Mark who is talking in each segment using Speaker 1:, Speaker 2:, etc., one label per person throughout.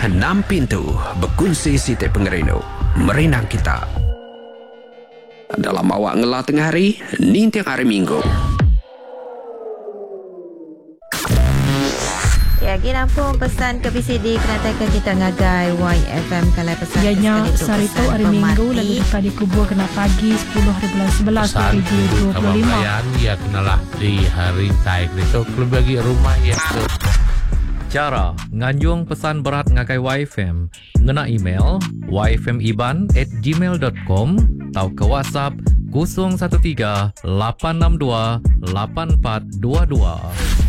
Speaker 1: Enam pintu bekunsi siti pengerindu merindang kita. Dalam awak ngela tengah hari ninting hari minggu.
Speaker 2: Ya, agi nampung pesan ke bisi dikenataika kita ngagai YFM kalai pesan
Speaker 3: Iya
Speaker 2: ke
Speaker 3: nya
Speaker 2: sekali tu
Speaker 3: sehari tu
Speaker 2: pesan
Speaker 3: hari Minggu
Speaker 2: pemati.
Speaker 3: lalu deka dikubur kena pagi 10 hari bulan 11
Speaker 4: Pesan ibu kaban
Speaker 3: 2025.
Speaker 4: belayan iya kenalah di hari rintai ditu kelebih agi rumah iya ke
Speaker 5: Chara nganjung pesan berat ngagai YFM ngena email yfmiban at gmail dot com tauka WhatsApp 013 862 8422.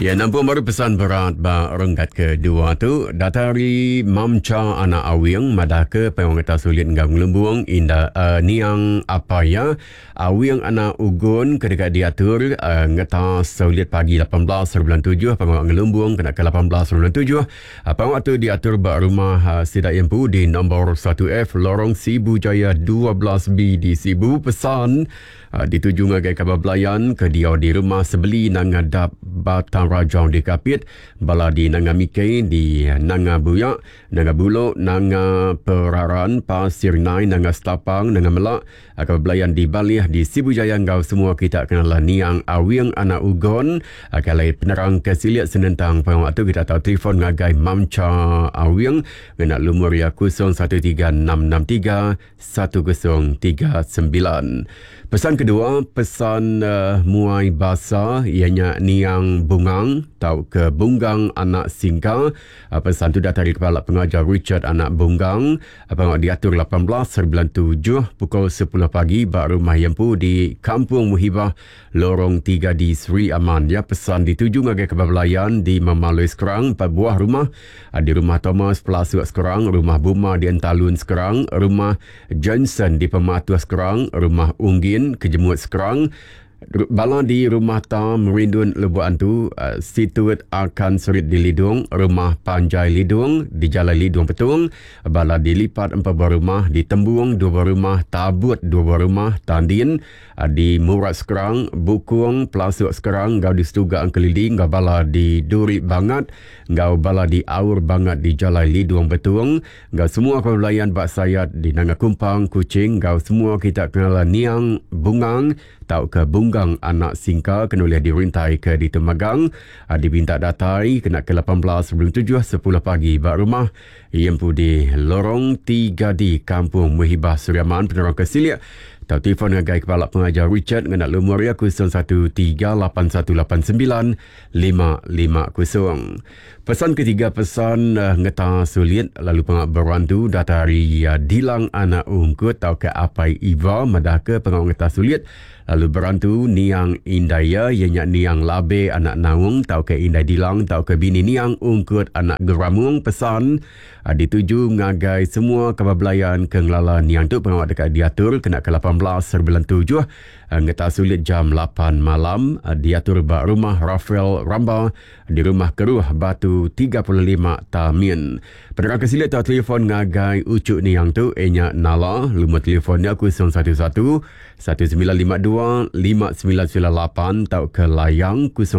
Speaker 6: Ya, nampung baru pesan berat ba renggat kedua tu. Datai ari Mamcha Anak Awing madahka pengawa ngetau sulit enggau ngelumbung inda uh, niang apai iya Awing Anak Ugon ke deka diatur uh, ngeta sulit pagi 18 bulan 7 pengawa ngelumbung kena ke 18 bulan 7. Uh, pengawa tu diatur ba rumah uh, sida iya empu di nombor 1F Lorong Sibu Jaya 12B di Sibu. Pesan Dituju ngagai kaban belayan ke diau di Rumah Sebeli Nanga Dap Batang Rajang di Kapit, bala di Nanga Mikei di Nanga Buyak, Nanga Bulok, Nanga Peraran, Pasir Nai, Nanga Setapang, Nanga Melak, kaban belayan di Balih di Sibu Jaya enggau semua kita kenala Niang Awing Anak Ugon. Ke alai penerang ke silik senentang pengawa tu kita tau telefon ngagai Mamcha Awing ngena lumur iya 013663 1039. Pesan kedua, pesan uh, muai basa iya nya Niang Bungang tauka Bunggang Anak Singka. Pesan tu datai ari Kepala Pengajar Richard Anak Bunggang. Pengawa diatur 18 hari bulan 7 pukul 10 pagi ba rumah iya empu di Kampung Muhibah, Lorong 3 di Sri Aman. Ya, pesan dituju ngagai kaban belayan di Memaloi Skrang, empat buah rumah di Rumah Thomas Pelasuk Skrang, Rumah Buma di Entalun Skrang, Rumah Johnson di Pematuh Skrang, Rumah Unggin Kejemut Skrang, bala di Rumah Ta Merindun Lubuk Antu, Situt Akan Serit di Lidong, Rumah Panjai Lidong di Jalai Lidong Betong, bala di Lipat empat buah rumah, di Tembung dua buah rumah, Tabut dua buah rumah, Tandin di Murat Skrang, Bukung, Pelasuk Skrang enggau di Setuga Engkelili enggau bala di Duri Bangat enggau bala di Aur Bangat di Jalai Lidong Betong enggau semua kaban belayan ba Sayat di Nanga Kumpang, Kuching enggau semua kita kenala Niang Bungang tauka Bunggang Anak Singka ke nulih dirintai ke ditu magang dipinta datai kena ke 18 bulan 7 10 pagi ba rumah iya empu di Lorong 3D Kampung Muhibah Suriaman. Penerang ke silik tau telefon ngagai Kepala Pengajar Richard ngena lumur iya 0138189 550. Pesan ketiga pesan uh, ngeta sulit lalu pengak berantu data ari uh, Dilang Anak Ungkut tauka Apai Iva madahka pengawa ngeta sulit lalu berantu niang indai iya iya nya niang Labe Anak Naung tauka Indai Dilang tauka bini niang Ungkut Anak Geramung. Pesan uh, dituju ngagai semua kaban belayan ke ngelala niang tu pengawa deka diatur kena ke 18 bulan 7 Ngeta sulit jam 8 malam diatur ba Rumah Raphael Ramba di Rumah Keruh Batu 35 Tamin. Penerang ke silik tau telefon ngagai uchu niang tu iya nya Nala, lumur telefon nya 011 1952 5998 tauka layang 01.